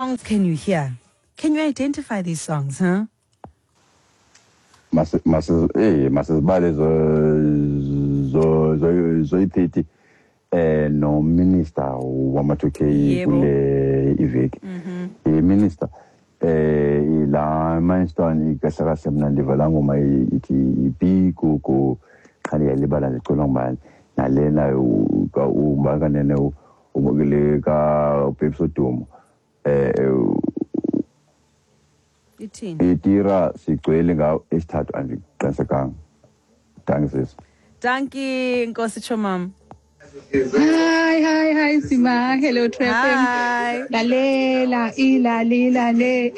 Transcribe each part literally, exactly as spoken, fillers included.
Songs can you hear? Can you identify these songs, huh? Mase mase eh masizibale zo zo zo zoyi-thirty eh no minister wama two K Yebo. Kule iveki. I minister eh la milestone kahle kahle mina ndiva la ngoma ithi ibikuku qha ndiyalibala ndicela ngubani nalena uMakanene ubukele ka Babes Wodumo eh Ithini? Itira sigcwele ngawo esithathu andiqinisekanga. Thanks, sis. Dankie, Nkosi Chomam. Hi, hi, hi, Sima. Hello, True F M. Hi. Lalela, ila, le.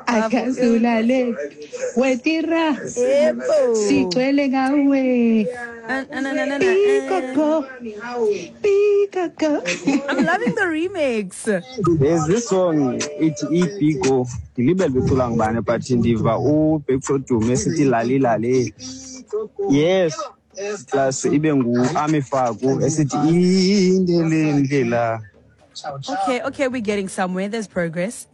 Akazulale. Wetira. Yebo. Sigcwele ngawe. Na, na, na, na, na, na. Bikoko. Bikoko. I'm loving the remix. There's this song ithi ibhigo ndilibele becula ngubani but ndiva uBabes Wodumo esithi lali lale, yes, plus ibe ngu-Ami Faku esithi indele ndlela. Okay, okay, we're getting somewhere. There's progress.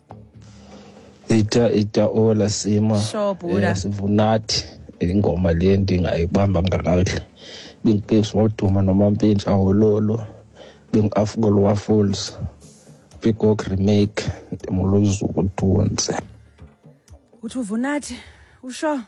Ita ita ola Sima. Sure, Buddha. Eh, sivunathi ingoma le ndingayibamba ngakakuhle binguBabes Wodumo noMampintsha Wololo bingu-Afgol Waffles Peacock remake ndimuluzuku Tunzi. Uthi uvunathi usho.